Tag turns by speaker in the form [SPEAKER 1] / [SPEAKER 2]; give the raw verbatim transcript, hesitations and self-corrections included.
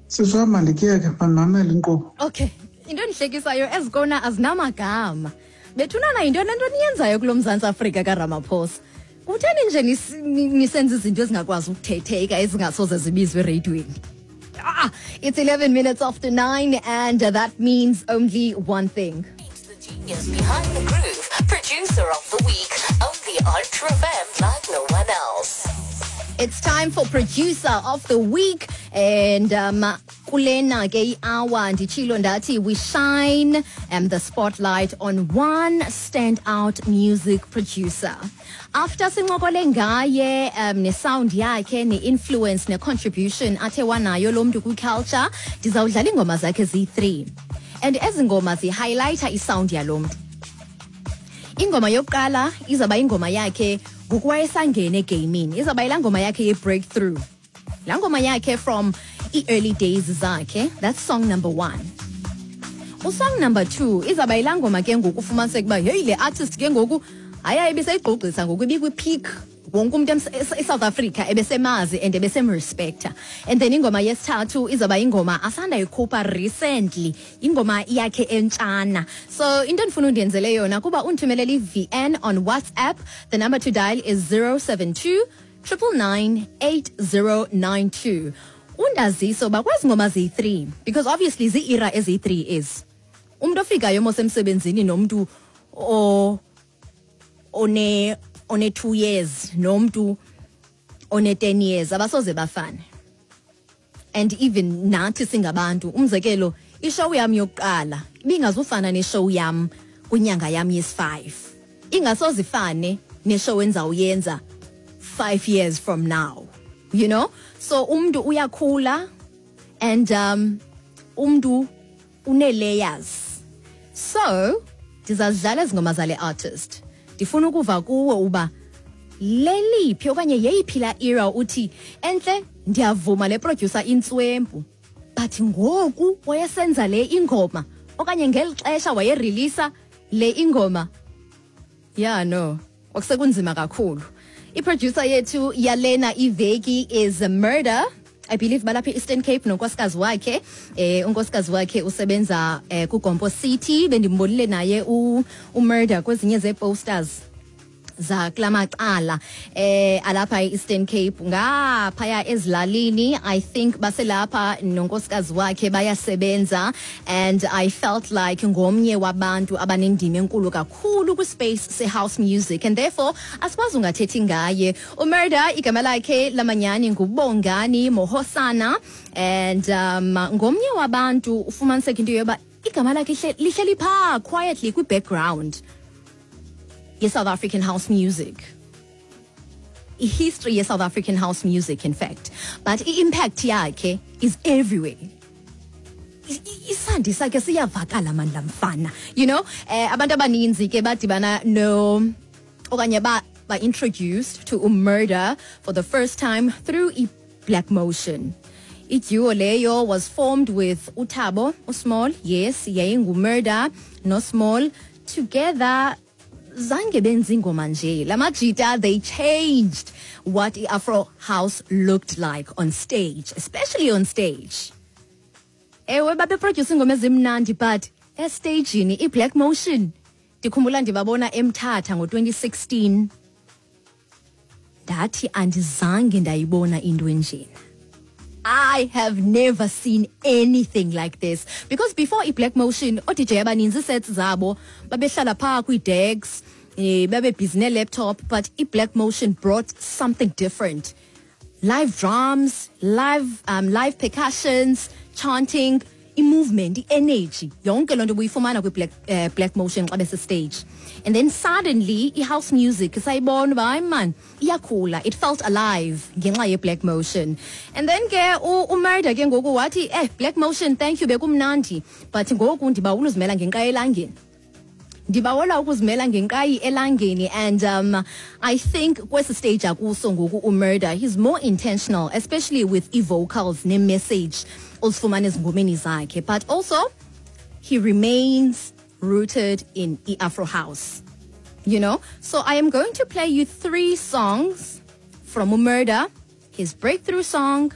[SPEAKER 1] Sisi wam, mandikuyeke, mandimamele inkqubo.
[SPEAKER 2] Okay, into endihlekisayo, ezikona azinamagama. Bethunana, yintoni le nto niyenzayo kulo Mzantsi Afrika kaRamaphosa? Kutheni nje nis- ni- nisenza izinto ezingakwazi ukuthetheka, ezingasoze zibizwe ereyidweni? Ah, it's eleven minutes after nine, and uh, that means only one thing.
[SPEAKER 3] The genius behind the groove, producer of the week, only on True F M like no one else.
[SPEAKER 2] It's time for producer of the week, and um kulena ke i-hour nditshilo ndathi we shine um, the spotlight on one standout music producer. After sincokole ngaye um ne-sound yakhe, ne-influence, ne-contribution athe wanayo lo mntu kwi-culture, ndizawudlala iingoma zakhe ziyi-three, and ezi ngoma zihighlighta isound yalo mntu. Ingoma yokuqala izawuba ingoma yakhe ngoku wayesangena egamini, izawuba yilaa ngoma yakhe ye-breakthrough, laa ngoma yakhe from ii-early days zakhe. That's song number one. Usong number two izawuba yilaa ngoma ke ngoku ufumaniseka uba heyi, le artist ke ngoku hayi, ayibiseyigqugqisa ngoku, ibikwi-peak, wonke umntu ems- e- eSouth Africa ebesemazi and ebesemrespecta. And then ingoma yesithathu izawuba ingoma asandayikhupha recently, ingoma yakhe entshana. So into endifuna undenzele yona kuba undithumelele i-V N on WhatsApp. The number to dial is zero seven two nine nine nine eight zero nine two. Undazise uba kwezi ngoma ziyi-three, because obviously zii-era eziyi-three, is umntu ofikayo mos emsebenzini nomntu o one one two years nomntu one ten years abasoze bafane. And even nathi singabantu, umzekelo, ishow yam yokuqala ibingazufana neshow yam kwinyanga yam yesi-five, ingasoze ifane neshow endizawuyenza five years from now you know So umntu uyakhula and um umntu une-layers. So ndizazidlala ezi ngoma zale artist. Ndifuna ukuva kuwe uba leliphi okanye yeyiphi laa era uthi, "Entle, ndiyavuma, le producer intswempu, but ngoku wayesenza le ingoma okanye ngeli xesha wayereleasa le ingoma, yeah, no, kwakusekunzima kakhulu." Iproducer yethu yalena iveki is Murder. I believe balapha e-Eastern Cape nonkosikazi wakhe. eh unkosikazi wakhe usebenza eh, kuGompo City. Bendimbonile naye u uMurder kwezinye zee-posters za kula macala eh alapha e-Eastern Cape, ngaphaya ezilalini. I think baselapha nonkosikazi wakhe bayasebenza, and I felt like ngomnye wabantu abanendima enkulu kakhulu kwispace se-house music, and therefore asikwazi ungathethi ngaye. uMurder, igama lakhe lamanyani nguBongani Mohosana, and um ngomnye wabantu ufumaniseka into yoba igama lakhe lihleli phaa quietly kwi-background ye-South African house music, i-history ye-South African house music in fact, but i-impact yakhe is everywhere. I- i- isandi sakhe siyavakala mandla mfana you know eh Abantu abaninzi ke badibana no okanye ba ba introduced to uMurder for the first time through i-Black Motion. Iduo leyo was formed with uThabo uSmall. Yes, yayinguMurder noSmall together. Zange benza ingoma nje lamajita, they changed what i-Afro house looked like on stage, especially on stage. Ewe, babeproduce ingoma ezimnandi, but estagini i-Black Motion, ndikhumbula ndibabona eMthatha ngo-twenty sixteen, ndathi andizange ndayibona into enjena. I have never seen anything like this, because before i-Black Motion, oo-D J abaninzi sets zabo babehlala phaa kwii-decks, eh, babe busy ne-laptop, but i-Black Motion brought something different: live drums, live um, live percussions, chanting, i-movement, i-energy, yonke loo nto ubuyifumana kwi-Black, uh, Black Motion xa bese-stage. And then suddenly i-house music sayibona uba hayi man, iyakhula. It felt alive ngenxa ye-Black Motion. And then ke uMurder ke ngoku wathi, "Eh, Black Motion, thank you, bekumnandi, but ngoku ndibawula uzimela ngenqayi elangeni, ndibawela ukuzimela ngenqayi elangeni." And um I think kwesi stage akuso ngoku uMurder, he's more intentional, especially with i-vocals ne-message ozifumana ezingomeni zakhe, but also he remains rooted in i-Afro house you know So I am going to play you three songs from uMurder: his breakthrough song.